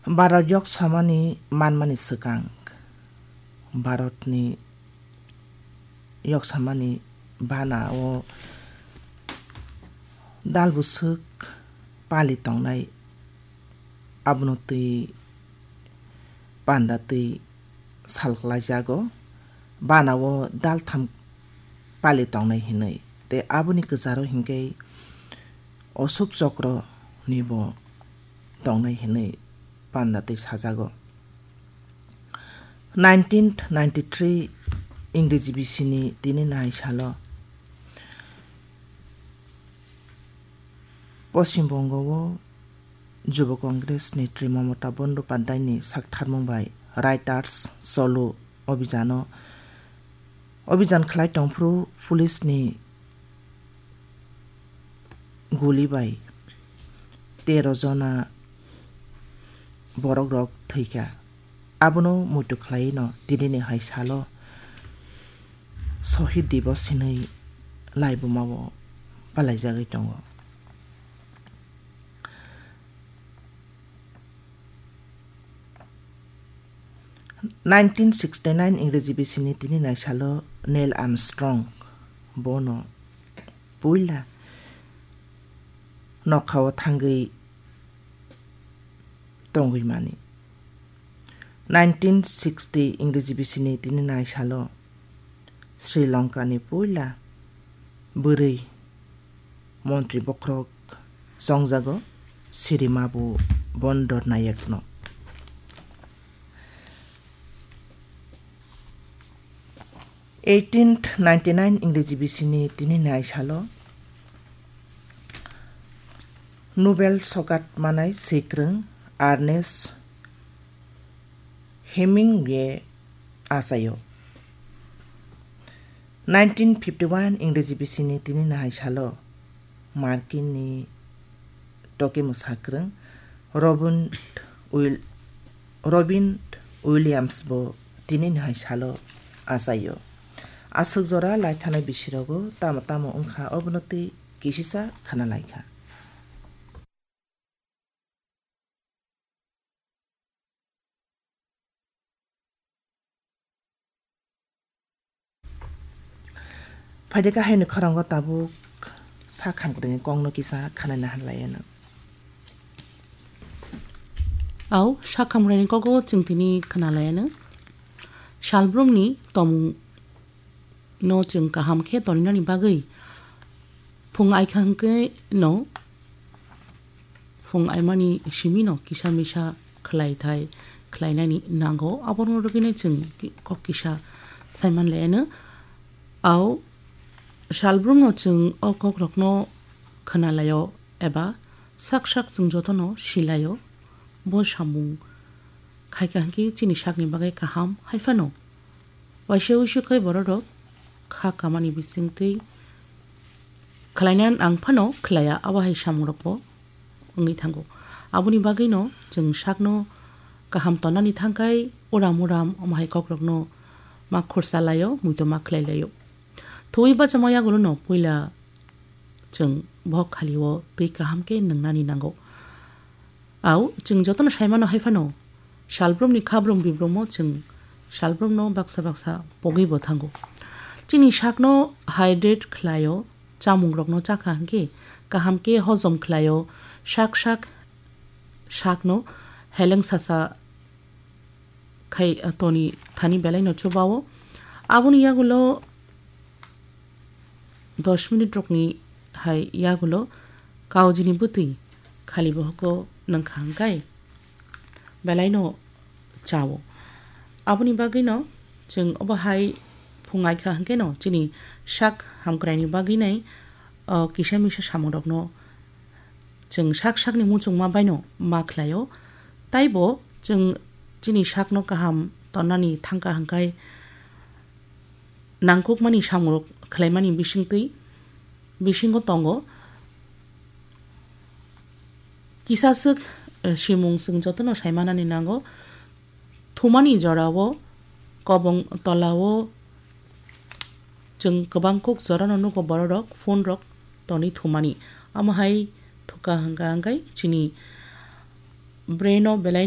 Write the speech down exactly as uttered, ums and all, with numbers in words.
Bharat yok samani manmani swkang, Bharatni yok samani bana o dal bwswk pali tongnai, abono twi panda twi sal klaijago, bana o dal tham pali tongnai hinwi. Tei aboni kwcharo hinkhe Ashok Chakra ni bo tongnai hinwi panda twi sajago. Nineteen ninety-three Ingreji bisini tini nai salo Poschim Bongo o Jubo Congress ni Tri Mamata Bandopadhyay ni saktharmung bai Writers Cholo Abhijano, Abhijan khlai tongphuru police ni guli bai tero jona borok rok thwikha. Abono muitu khlaiwi no tini ni hai salo Shohid Divas hinwi laibuma o palaijagwi tongo. Nineteen sixty-nine Ingreji bisini tini nai salo Neil Armstrong bono puila nokhao thangwi tongwi mani. Nineteen sixty Ingreji bisini tini nai salo Sri Lanka ni puila bwrwi montri bokhorok chongjago Sri Mabu Bandar Nayakno. Eighteen ninety-nine Ingreji bisini tini nai salo Nobel sogat manai swikwrwng Ernest Hemingway achaio. Nineteen fifty-one Ingreji bisini tini nai salo Markin ni toke mwsakwrwng Robin Wil-, Robin Williams bo tini nai salo achaio. Aswk jora lai thanai bisirogo tamo tamo wngkha, obono tei kisisa khna laikha. Phaide kahai ni khorang o tabuk sak hamkrai ni kok no kisa khna nahar lai ano. Au, sak hamkrai ni kok o chwng tini khna lai ano. Salbrum ni tomung no chwng kaham khe toninani bagwi phung aikha hwnkhe no, phung aimani simi no kisa misa khlai thai khlainani nango, abono rwgwino chwng ki-, kok kisa saiman lai ano. Au salbrum no chwng o kok rokno khna laio eba sak sak chwng jotono si laio, bo samung khaikha hwnkhe chini sakni bagwi kaham hai phano. Waisa uisu khe borok rok kha kamani bisingtwi khlaina nang phano khlaiya, abo hai samung rok bo wngwi thango. Aboni bagwi no chwng sakno kaham tonnani thangkhai uram uram omo hai kok rokno ma khursa laio, muitu ma khlai laio. Thuwi bachama yagulo no puila chwng bohok khali o twi kaham khe nwngnani nango. Au, chwng jotono sai mano hai phano, salbrumni khabrum bibrumo chwng salbrumno baksa baksa pogwi bo thango. Chini sakno hydrate khlaio, chamungrokno chakha hwnkhe kaham khe hojom khlaio, sak sak sakno heleng sasa khai, toni thani belai no chubao. Aboni yagulo dos minute rokni hai yagulo kaujini bwtwi khali bohoko nangkha hwnkhe belai no chao. Aboni bagwi no chwng obo hai phungai kha hwnkhe no chini sak hamkraini bagwi nai, o kisa misa samung rokno chwng sak sakni muchungma baino ma khlaio. Taibo chwng chini sakno kaham tonnani thangkha hwnkhe nangkukmani samungrok khlaimani bisingtwi, bisingo tongo kisaswk, eh, simung chwng jotono saimanani nango. Thumani jorao kobong tolao chwng kwbang kuk jorano nugo bororok phone rok tonwi thumani. Amo hai thukha hwnkha hwnkhe chini brain o belai